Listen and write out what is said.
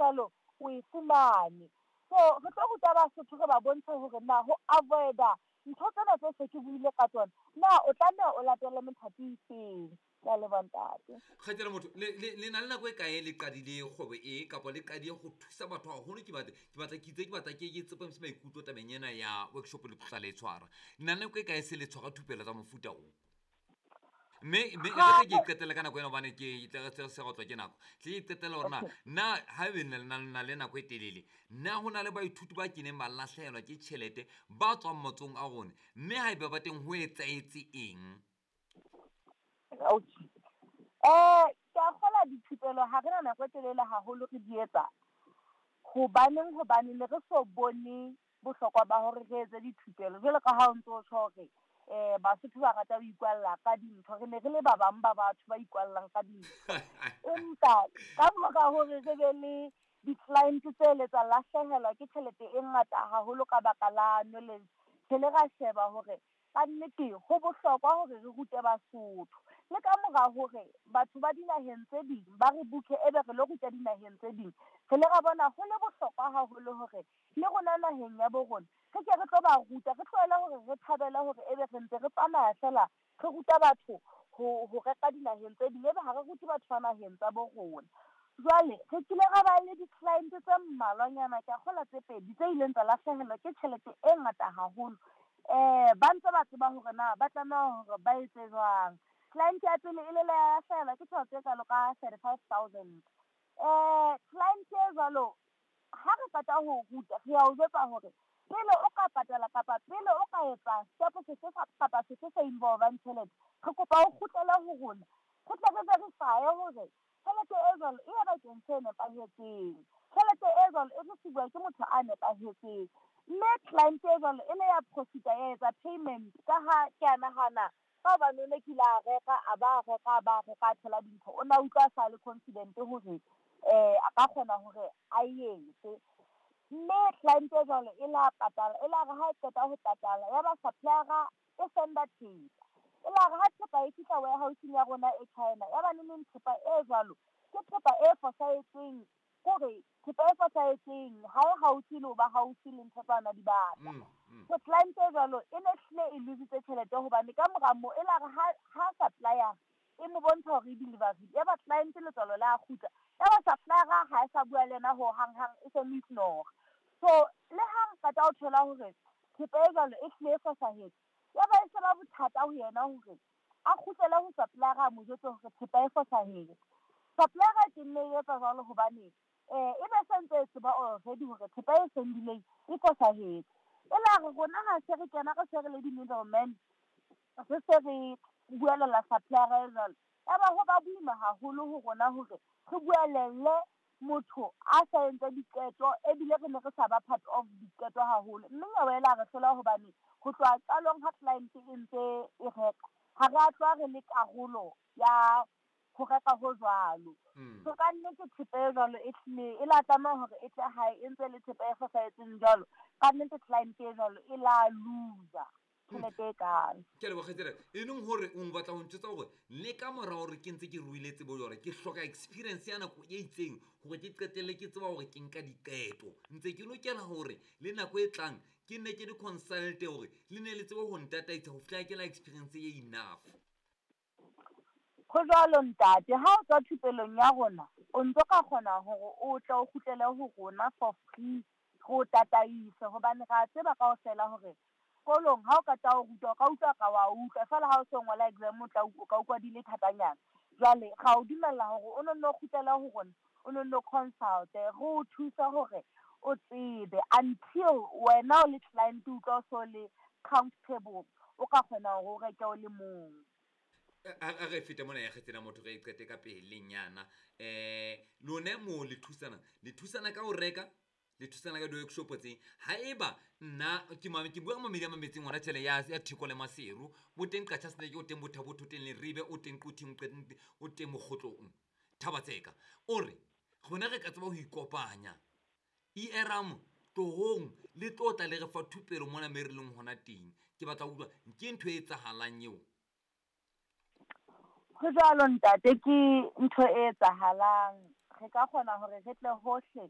jwalo o e fumane. So re tlo ruta Basotho, re ba bontshe hore na ho avoid-a ntho tsena tse se ke buile ka tsona, na o tlameha o latele methati e feng. Ke a leboha, ntate. Kgaitsedi motho, le na le nako e kae le qadile kgwebo e, kapa le qadile go thusa batho haholo? Ke batla ke itse, ke batla ke tsepamise maikutlo tabeng ena ya workshop le tlotla le e tshwara. Le na le nako e kae se le tshwara thupelo tsa mofuta o? Mme e re tle ke iqetelle ka nako ena, hobane ke tle re se re otlwa ke nako, tle ke iqetelle hore na haebe na le nako e telele, na ho na le baithuti ba keneng ba lahlehelwa ke tjhelete ba tswang matsong a rona, mme haeba ba teng, ho etsahetse eng? Okay, ke a kgola dithupelo ha re na nako e telele haholo re di etsa. Hobaneng? Hobane ne re so bone bohlokwa ba hore re etse dithupelo, jwalo ka ha o ntso tjho hore Basotho ba rata ho ikwalla ka dintho. Re ne re le ba bang ba batho ba ikwallang ka dintho, empa ka mora hore re be le di-client tse le tsa lahlehelwa ke tjhelete e ngata haholo ka baka la knowledge, re le ra sheba hore kannete ho bohlokwa hore re rute Basotho. Le ka mora hore batho ba dinaheng tse ding ba re book-e, ebe re lo ruta dinaheng tse ding, re le ra bona ho le bohlokwa haholo hore le rona naheng ya bo rona re ke re tlo ba ruta. Re tlohele hore re thabele hore ebe re ntse re tsamaya fela re ruta batho ho reka dinaheng tse ding, ebe ha re rute batho ba naheng tsa bo rona. Jwale re kile ra ba le di-client tse mmalwanyana, ke a kgola tse pedi, tse ileng tsa lahlehelwa ke tjhelete e ngata haholo. Ba ntse ba tseba hore na ba tlameha hore ba etse jwang. Client ya pele e le la hlahelwa ke tjhelete e kalo ka 35 000. Client e jwalo, ha re qeta ho ruta, re a o jwetsa hore pele o ka patala kapa pele o ka etsa step sefe kapa sefe se involvang tjhelete, re kopa o kgutlele ho rona, re tle re verify hore tjhelete e jwalo e ya bakeng se nepahetseng, tjhelete e jwalo e receive ke motho a nepahetseng. Mme client e jwalo e le ya profita, ya etsa payment, ka ha ke a nahana ka hobane o ne kile a reka, a ba reka, a ba reka, a thola dintho, o na utlwa a sa le confident hore a ka kgona hore a etse. Mme client e jwalo e la patala, e la re ha e qeta ho patala, ya ba supplier e senda thepa. E la re ha thepa e fihla warehouseng ya rona e China, ya ba neneng thepa e jwalo ke thepa e fosahetseng, kore thepa e fosahetseng, ha e haufi le ho ba haufi le ntho tsa ona di batla. So client e jwalo e ne hlile e lositse tjhelete, hobane ka mora moo e la re ha supplier e mo bontsha hore e delivery, ya ba client letswalo la kgutla, ya ba supplier ha e sa bua le yena ho hang hang, e se mo ignore. So le ha re qeta ho thola hore thepa e jwalo e hlile e fosahetse, ya ba e se ba bothata ho yena hore a kgutlele ho supplier, a mo jwetse hore thepa e fosahetse. Supplier ke nne e etsa jwalo hobane e be se ntse e tseba already hore thepa e sendileng e fosahetse. E la re rona ha se re kena, re se re le di-middleman, re se re buelela supplier e jwalo, ya ba ho ba boima haholo ho rona hore re buelelle motho a sa entse diqeto, ebile re ne re sa ba part of diqeto haholo. Mme nyewe e la re hlola, hobane ho tloha qalong ha client e ntse e reka, ha re a tloha re le karolo ya ho reka ho jwalo. So ka nnete thepa e jwalo e hlile e la tlameha hore e tle hae e ntse le thepa e fosahetseng jwalo. Ka nnete client e jwalo e la loser tjhelete e kalo. Ke a leboha, kgaitsedi. E leng hore o batla ho ntjwetsa hore le ka mora hore ke ntse ke ruile tsebo jwale, ke hloka experience ya nako e itseng hore ke qetelle ke tseba hore ke nka diqeto, ntse ke lokela hore le nako e tlang ke nne ke di-consulte hore le ne le tsebe ho ntataisa ho fihlela ke la experience e enough? Ho jwalo, ntate. Ha o tswa thupelong ya rona, o ntso ka kgona hore o tle o kgutlele ho rona for free, re o tataise, hobane re a tseba kaofela hore sekolong ha o qeta ho rutwa, o ka utlwa ka wa utlwa feela, ha o so ngola exam o tla o ka utlwa di le thatanyana. Jwale ra o dumella hore o nonno kgutlele ho rona, o nonno consult, re o thuse hore o tsebe until wena o le client o utlwa o so le comfortable, o ka kgona hore o reke o le mong. A re fete mona ya kgetsela motho, re e qete ka pelenyana. Lona mo le thusana, le thusana ka ho reka, le thusana ka di-workshop tse. Haeba nna ke ke bua ka mamedi a mametseng hona tjhele ya Theko le Maseru, bo teng Qacha's Nek, o teng Botha, o teng Leribe, o teng Quthing, o teng Mokgotlong, Thaba-Tseka, o re rona re ka tseba ho ikopanya eram tlohong, le tlo tla le re fa thupelo mona me re leng hona teng. Ke batla ho utlwa, ke ntho e etsahalang eo? Ho jwalo, ntate, ke ntho e etsahalang. Re ka kgona hore re tle hohle.